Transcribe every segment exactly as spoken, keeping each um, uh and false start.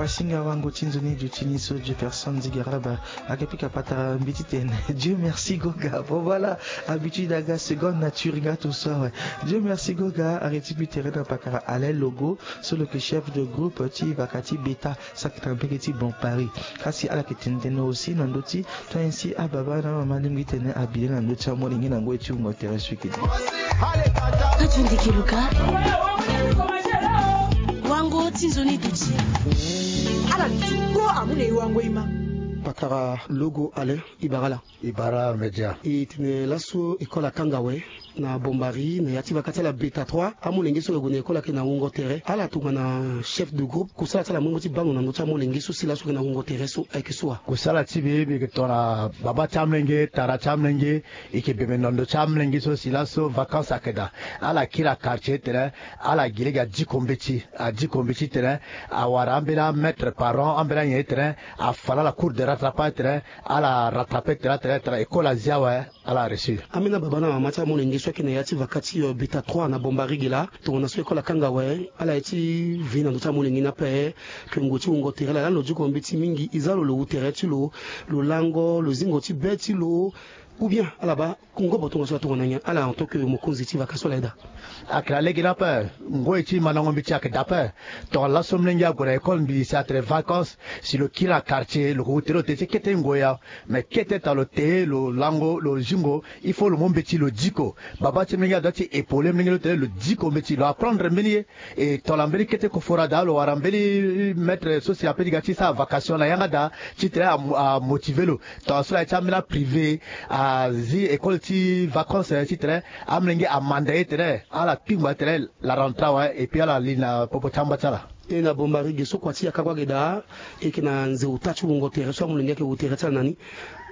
Asinga wango ti nzoni duti ni so Jefferson Zigaraba. Ake pika patara mbi titene Dieu merci Goga. Bon, voilà, habitude aga seconde nature nga tout ça, ouais. Dieu merci Goga. Arrêté bi terrain na patara Alain Logo, so lo yeke chef de groupe ti vaka ti Beta, saki na mbege ti Bon Paris. Kasi ala yeke tene tënë aussi na ndö ti to ainsi ababa na amama alingbi tene abile na ndö ti amolenge na ngoi ti wungo tere so yeke di. Kati ndiki luka. Wango ti nzoni duti. Ala duti ko amu na e wango e ma. Patara Logo Alain, e bara ala. E bara média. E tene laso école akanga awe na Bombari na ya ti vaka ti ala Beta trois. Amolenge so ayeke gue na école ayeke na wungo tere. Ala tongana chef de groupe, kusala ti ala amu ti baa lo na ndö ti amolenge so si laso ayeke na wungo tere so ayeke so wa? Kusala ti mbi, mbi yeke tongana baba ti amolenge, tara ti amolenge, e yeke bembe na ndö ti amolenge so si laso vacances ayeke daa. Ala kiri na quartier titene ala gi lege adiko mbeti, adiko mbeti titene awara ambeni amètre par an, ambeni anyen titene afa na ala cours de rattrapage titene ala rattraper titene atene titene école azia awe. Ala réussir. Ambeni ababa na amama ti amolenge so ayeke na ya ti vaka ti, euh, Beta trois na Bombari ge laa, tongana so école akanga awe, ala ye ti ve na ndö ti amolenge ni ape, ke ngoi ti wungo tere laa, lani lo diko mbeti mingi, e za lo, lo wu tere ti lo, lo lango, lo zingo ti be ti lo, ou bien ala baa ngobo tongaso atongana nyen? Ala en tant que mokonzi ti vaka so ala ye daa. Ayeke na lege ni ape, ngoi ti mandango mbeti ayeke daa ape. Tongana laso molenge ague na école mbi si atene vacances, si lo kiri na quartier, lo ke wu tere lo te ti kete ngoi ya. Mais kete tongana lo te, lo lango, lo zingo, il faut lo mu mbeti lo diko. Baba ti molenge adoit ti épauler molenge lo tene lo diko mbeti, lo apprendre mbeni ye. E tongana mbeni kete koforo adaa, lo wara mbeni maître so si ape ti ga ti sara vacation na yanga daa, titene a, amotiver lo. Tongana so la ye ti ambeni aprivé, azi école ti vacances, eh, titene amolenge amanda ye tene ala kpingba tene la rentrée awe, et puis ala li na popo ti amba ti ala. E na Bombari ge so kua ti yaka kue age daa, e yeke na nze ota ti wungo tere so amolenge ayeke wu tere ti ala na ni.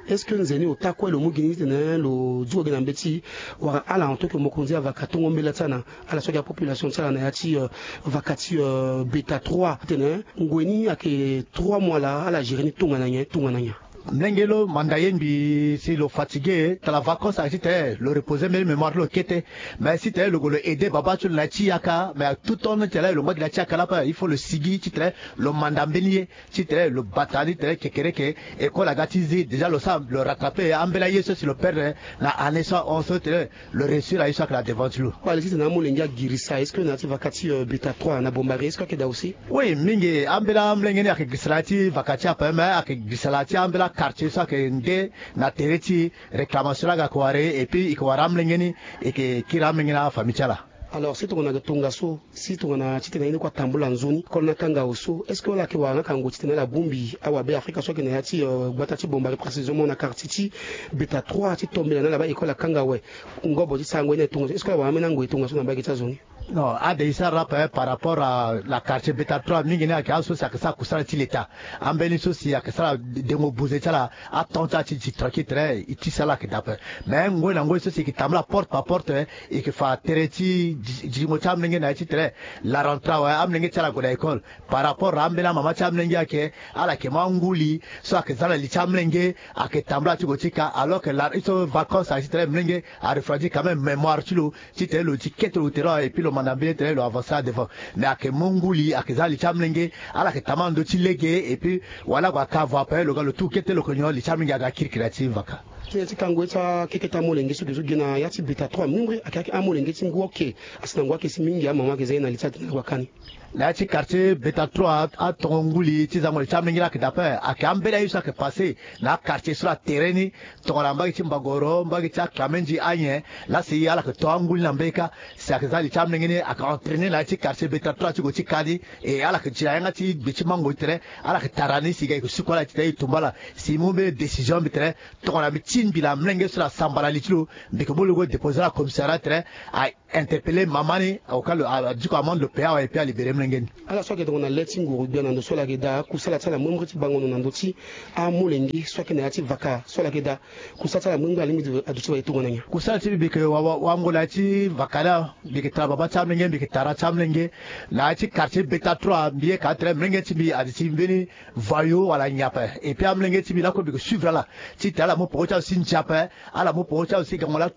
Est-ce que nze ni ota kue lo mu gi ni titene lo duko gi na mbeti, wala ala en tant que mokonzi avaka tongo mbela ti ala, ala so ayeke apopulation ti ala na ya ti, euh, vaka ti, euh, Beta trois titene ngoi ni ayeke trois mois laa, ala gérer ni tongana nyen, tongana nyen? Molenge lo manda ye mbi si lo fatigué, tala vacances ayeke titene lo reposer mbeni mémoire ti lo kete. Mais titene lo gue lo aider baba ti lo na ya ti yaka, mais tout temps ni titene lo ngba gi na ya ti yaka ni ape, il faut lo sigi titene lo manda mbeni ye, titene lo bata ni titene kekereke, école aga ti zi, déjà lo sara lo rattraper ambeni aye so si lo perdre na année so ahon so titene lo réussir aye so ayeke na devant ti lo. Kpale titene amolenge agirisa, est-ce que na ya ti vaka ti, euh, Beta trois na Bombari, est-ce que ayeke daa aussi? Oui, mingi. Ambeni amolenge ni ayeke girisa na ya ti vaka ti ape, mais ayeke girisa na ya ti ambeni quartier so ayeke nde na tere ti réclamation laa aga yeke wara e, et puis e yeke wara amolenge ni, e yeke kiri amolenge na afamille ti ala. Alors si tongana ayeke tongaso, si tongana titene ye ni kue atambula nzoni, école ni akanga awe so, est-ce que ala yeke wara na yanga ngoi titene ala bongbi awabe Afrika so ayeke na ya ti, euh, gbata ti Bombari, précisément na quartier ti Beta trois ti tombela na ala baa école akanga awe? Ngobo ti sarango ye ni aye tongaso, est-ce que ala wara ambeni angoi aye tongaso na mbage ti azo ni? Non, ade e sara ape par rapport à la quartier Beta trois, mingi ni ayeke azo so si ayeke sara kusala ti leta. Ambeni so si ayeke sara dengo buze ti ala, aton ti ala ti, ti tranquille tene e ti sara ala ayeke daa ape. Mais ngoi na ngoi so si e yeke tambula porte par porte, e yeke fa tere ti gi-, gingo ti amolenge na ya ti tene la rentrée awe, amolenge ti ala ague na école. Par rapport na ambeni amama ti amolenge ayeke, ala yeke mu anguli so ayeke za na li ti amolenge, ayeke tambula ti gue ti ka, alors que la, e so vacances ayeke ti tene molenge arefroidir quand même mémoire ti lo, titene lo ti kete lo tere, et puis lo manda mbeni titene lo avancer adevant. Mais ayeke mu nguli, ayeke za li ti amolenge, ala yeke tambula na ndö ti lege, et puis wala ague aka avo ape, lo ga lo tu kete lo yeke nyon, li ti amolenge aga kirikiri na ya ti vaka. Ti na ya ti kango ye ti akeke ti amolenge so ge so ge na ya ti Beta trois, mingbre ayeke amolenge ti ngu oke, asi na ngu ake si mingi amama ayeke za ye na li ti atene ague aka ni. Na ya ti quartier Beta trois, atongo nguli ti zango li ti amolenge ni ayeke daa ape, ayeke ambeni aye so ayeke passé na quartier so na tere ni, tongana mbage ti Mbagoro, mbage ti Akamendi, anyen, laa si ala yeke to anguli na mbage kâ, si ayeke za li ti amolenge ni, ayeke entraîner na ya ti quartier Beta trois ti gue ti ka ni, e ala yeke ti na yanga ti gbe ti mango titene ala yeke tara ni, si e ga e yeke suku ala titene e tumba ala, si e mu mbeni décision mbi tene, tongana mbi ti mbi na molenge so na samba na li ti lo, mbi yeke mu lo gue déposer na commissariat titene a interpeller mama ni, au cas lo, a, a diko amende, lo payer awe, et puis a libérer molenge ni. Ala so ayeke tongana le ti nguru gbia na ndo so ala yeke daa, kusala ti ala mbrimbri ti bango ndo na ndö ti amolenge so ayeke na ya ti vaka so ala yeke daa, kusala ti ala mbrimbri alingbi aduti wa ye tongana nyen? Kusala ti mbi, mbi yeke wa, wa, wango na ya ti vaka ni, mbi yeke tara baba ti amolenge, mbi yeke tara ti amolenge. Na ya ti quartier Beta trois, mbi ye ka tene molenge ti mbi aduti mbeni voyou wala nyen ape. Et puis amolenge ti mbi lakue mbi yeke suivre ala titene ala mu peko ti ala si ndia ape, ala mu peko ti ala si gango laa.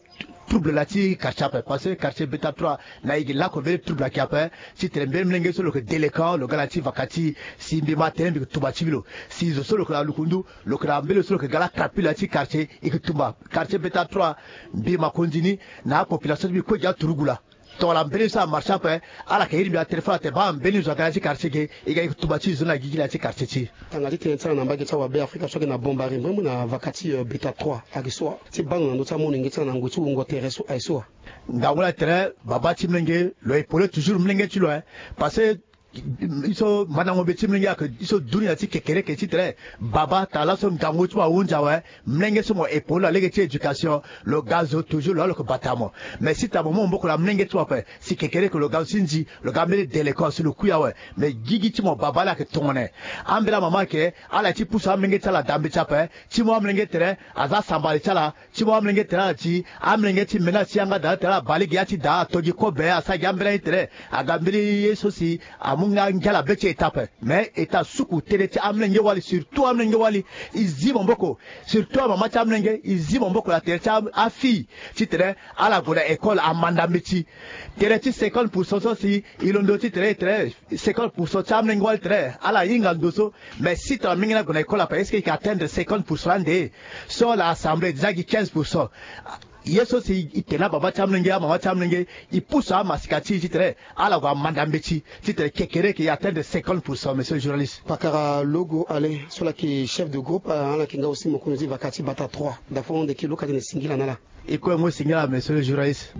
trouble na ti quartier ape, parce que quartier beta trois na e gi lako mbeni trouble ayeke ape. Ti tene mbeni molenge so lo yeke délinquant, lo ga na ti vaka ti e, si mbi ma tënë mbi yeke tumba ti mbi lo. Si zo so lo yeke na lukundu, lo yeke na mbeni lo so lo yeke ga la crapule na ti quartier, e yeke tumba. Quartier beta trois, mbi makonzi ni na apopulation ti mbi kue gi aturugu laa. Tongana mbeni so amarché ape, ala yeke iri mbi na téléphone atene baa mbeni zo aga na ya ti quartier ge, e ga e yeke tumba ti zo ni na gigi na ya ti quartier ti e. Tanga ti tënë ti ala na mbage ti awabe Afrika so ayeke na Bombari mbrembo na vaka ti, euh, beta trois ayeke so wa? Ti baa ndo na ndö ti amolenge ti ala na ngoi ti wungo tere so ayeke so wa? Ngangu laa tene baba ti molenge lo epauler toujours molenge ti lo, hein. Parce que e so mandango be ti molenge ayeke e so dunia ti kekereke ti tene baba tara laso ngangu ti mo ahunzi awe, molenge so mo epauler na lege ti éducation, lo ga zo toujours lo ya lo yeke bata mo. Mais si tara mo mu maboko na molenge ti mo ape, si kekereke lo ga zo ti nzi, lo ga mbeni délinquant si lo kui awe. Mais gigi ti mo baba laa ayeke tongana nyen? Ambeni amama ayeke ala ye ti pusu amolenge ti ala na dambe ti ape. Ti mo amolenge tere aza asambala ti ala. Ti mo amolenge tere ala ti amolenge ti mena ti yanga daa tere ala baa lege ya ti daa ato gi kobe asara gi ambeni aye tere aga mbeni ye so si amu nga ngia ala be ti eta ape. Mais eta suku tënë ti amolenge wali, surtout amolenge wali, e zi maboko. Surtout amama ti amolenge, e zi maboko na tere ti a- afille ti tene ala gue na école amanda mbeti. Tënë ti cinquante pour cent so si e londo ti tene e tene cinquante pour cent ti amolenge wali tene ala hinga ndo so. Mais si tongana molenge ni ague na école ape, est-ce que e yeke atteindre cinquante pour cent ande? So na assemblée déjà gi quinze pour cent. Ye so si e tene ababa ti amolenge, amama ti amolenge, e pusu amasika ti e ti tene ala gue amanda mbeti ti tene kekereke e atteindre cinquante pour cent, monsieur le journaliste. Pakara Logo Alain so laa ayeke chef de groupe, ah, ala yeke nga aussi mokonzi ti vaka ti bata trois. Dafo honde ki lo ka tene singila na ala. E kue mo singila, monsieur le journaliste.